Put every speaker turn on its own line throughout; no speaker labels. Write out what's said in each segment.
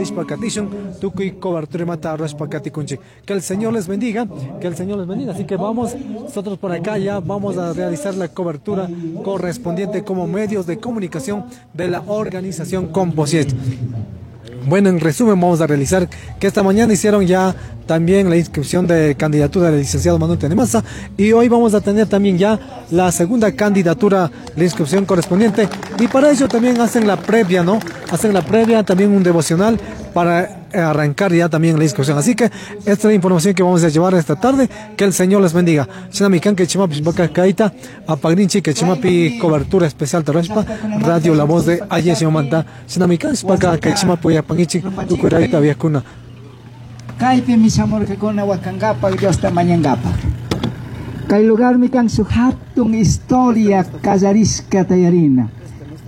Rishpa katishun tukuy cobertura mata rashpa katikunchik. Que el Señor les bendiga, que el Señor les bendiga. Así que vamos, nosotros por acá ya vamos a realizar la cobertura correspondiente como medios de comunicación de la organización Composiet. Bueno, en resumen vamos a realizar que esta mañana hicieron ya también la inscripción de candidatura del licenciado Manuel Tenemaza y hoy vamos a tener también ya la segunda candidatura, la inscripción correspondiente, y para ello también hacen la previa, ¿no? Hacen la previa, también un devocional para arrancar ya también la inscripción. Así que esta es la información que vamos a llevar esta tarde. Que el Señor les bendiga. Shinamikan que chimapi kaita, apagrinchi que chimapi cobertura especial tarashpa, Radio La Voz de Ayesiomanta. Shinamikan spaka que chimapi yapanichi, tukuraita viakuna.
Kaypi mishamurkakuna wakankapak Diosta mañankapak. Kay lugarmi kan shuk hatun historia kallarishka tayarina.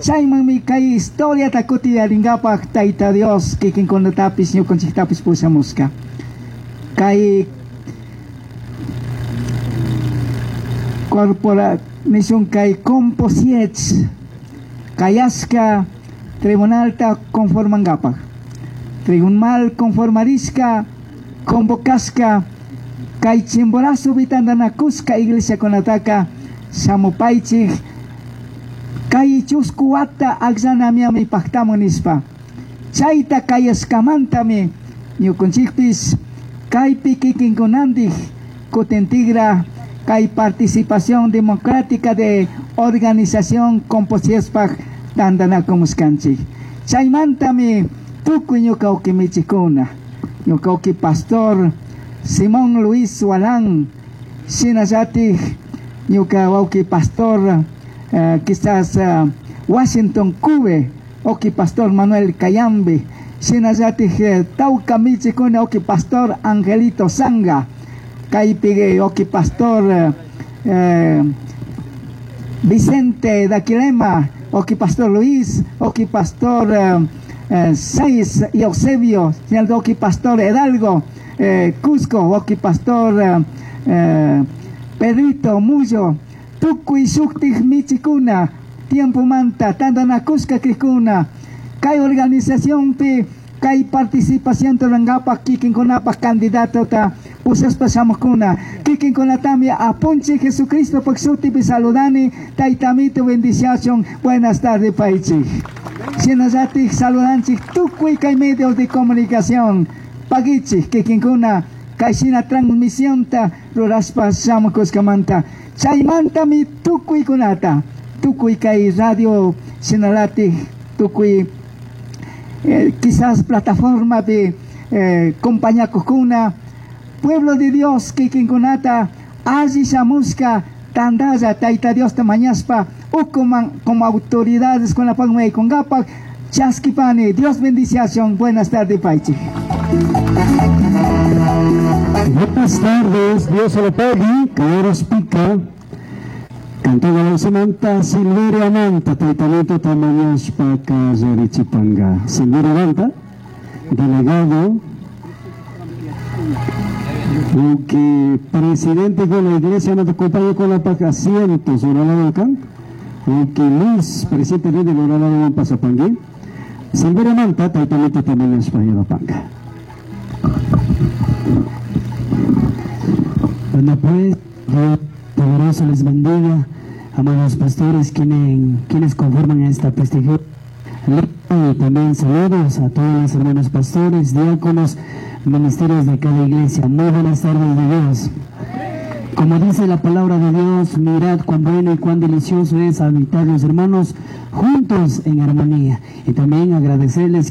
Chaymanmi kay historiata kutiyarinkapak Tayta Dios kikinkunatapis ñukanchiktapis pushamushka. Kay corpora nishun kay Composiech kayashka tribunalta conformankapak. Tribunal conformarishka convocashka kay Chimborazo bitandanakushka iglesia kunataka shamupaychik kay chusku wata akllanamiami paktamun nishpa. Chayta kayashkamantami ñukunchikpis kaypi kikinkunantik kutintigra kay participación democrática de organización Composiespak tandanakumuskanchik. Chaymantami tukuy ñuka ukimichikuna, ñuka uki pastor Simón Luis Walán, shinallatik ñuka wawki pastor quizás Washington Cube, oki pastor Manuel Cayambe, shinallatik tawka michikuna oki pastor Angelito Sanga, kaypi oki pastor Vicente Daquilema, oki pastor Luis, oki pastor Saiz y Eusebio, oki pastor Hidalgo, Cusco, oki pastor Pedrito Mullo, tukuy shuktik michikuna, tiempo manta, tandanakushka krikuna, kay organización pi, kay participación turangapak, kikinkunapak candidato ta, pushaspa shamukuna, kikinkunatami apunchi Jesucristo pak shutipi saludani, taytamito bendición, buenas tardes paichik. Shinallatik saludanchik tukuy kay medios de comunicación, pagichik kikinkuna, kay shina transmisión ta rurashpa shamukushkamanta. Chaymantami tukuykunata, tukuy kay radio shinalatik, tukuy quizás plataforma de compañakukuna, pueblo de Dios kikinkunata, alli shamushka, tandalla Tayta Diosta mañashpa, ukuman como autoridades con la pagma y con gapak, chaskipani, Dios bendición, buenas tardes paichi.
Buenas tardes, Dios se lo pague, Caballeros Pica, Cantó la Samantha, Silverio Manta, Taitanito Tamañashpa, Kayarichipanga. Silverio Manta, delegado, que presidente con la iglesia, no te acompaña con la paca, asientos, oralado acá, que Luis, presidente de la oralado en Pasapangui. Silverio Manta, Taitanito Tamañashpa, Panga.
Bueno, pues, Dios poderoso les bendiga, amados pastores, quienes conforman esta prestigiosa y también saludos a todos los hermanos pastores, diáconos, ministerios de cada iglesia. Muy buenas tardes de Dios. Como dice la palabra de Dios, mirad cuán bueno y cuán delicioso es habitar los hermanos juntos en armonía. Y también agradecerles